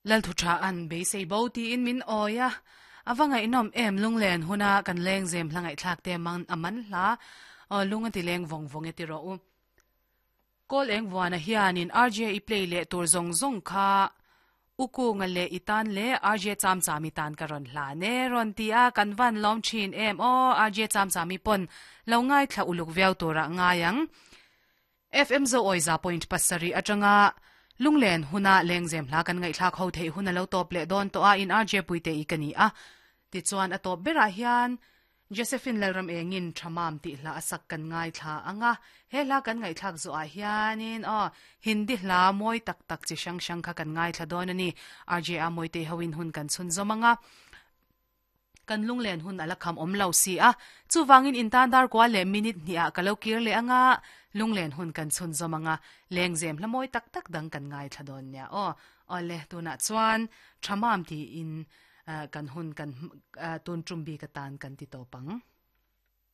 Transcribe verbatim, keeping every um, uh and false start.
Lal thu tha an beisei bo tiin min awi a ava ngaihnawm em lunglen huna kan leng zem hla ngaihthlak te mang a man hla aw lung a ti leng vawng vawng e ti rawh u kawl eng vuana hianin R J i play leh tur zawng zawng kha uku nga le itan le R J cham chami tan ka ron hla ne ron ti a kan van lom thin em o R J cham chami pon lo ngai thla uluk viau tura ngayang F M zo oiza point pasari atanga lunglen huna lengzem hla kan ngai thlak ho thei huna lo top le don to a in R J puite i kani a ti chuan a top bera hian Josephine Lalram engin thamam ti hla asak kan ngai thla anga he hla kan ngai thlak zo a hianin o Hindi hla moi tak tak chi sang sang kha kan ngai thla don ani R J a moi te hoin hun kan chun zomanga kan lunglen hun ala kham om lo si a chuwangin intan dar kwa le minute ni a kalo kir le anga lunglen hun kan chun zomanga lengzem hla moi tak tak dang kan ngai thla don nya o ole tuna chuan thamam ti in kan hun kan tun trumbi ka tan kan ti topang.